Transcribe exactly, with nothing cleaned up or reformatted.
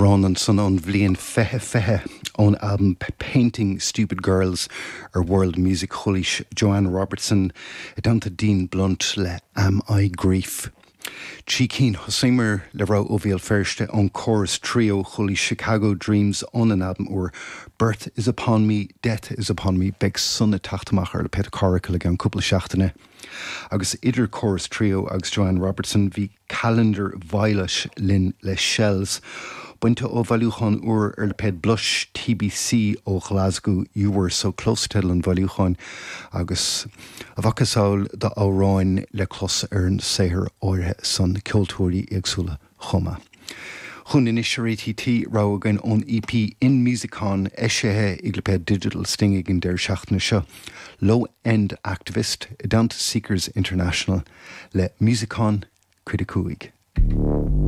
Amhrán ansan ón bhliain fiche fiche ón albam Painting Stupid Girls ar World Music Chualaís Joanne Robertson i dteannta Dean Blunt le Am I Grief. Trí cinn thosaíomar le rogha ó Bhéal Feirste ón Chorus Trio chualaís Chicago Dreams ón an albam úr Birth is upon me, Death is upon me beidh san ag teacht amach ar lipéad Coracle i gceann cúpla seachtaine. Agus idir Chorus Trio agus Joanne Robertson bhí Calendar Violet linn le Shells. Bainte ó bhailiúchán úr ar lipéad Blush TBC ó Glasgow You were so close teideal an bhailiúcháin agus a mhacasamhail d'amhráin le clos ar an saothar áirithe san ceoltóirí éagsúla chomh maith. Chun anois ar ATT rogha againn ón EP In Musicon eisithe ag lipéad Digital Sting ag an deireadh seachtaine seo. Low End Activist i dteannta Seekers International le Musicon cuid a cúig.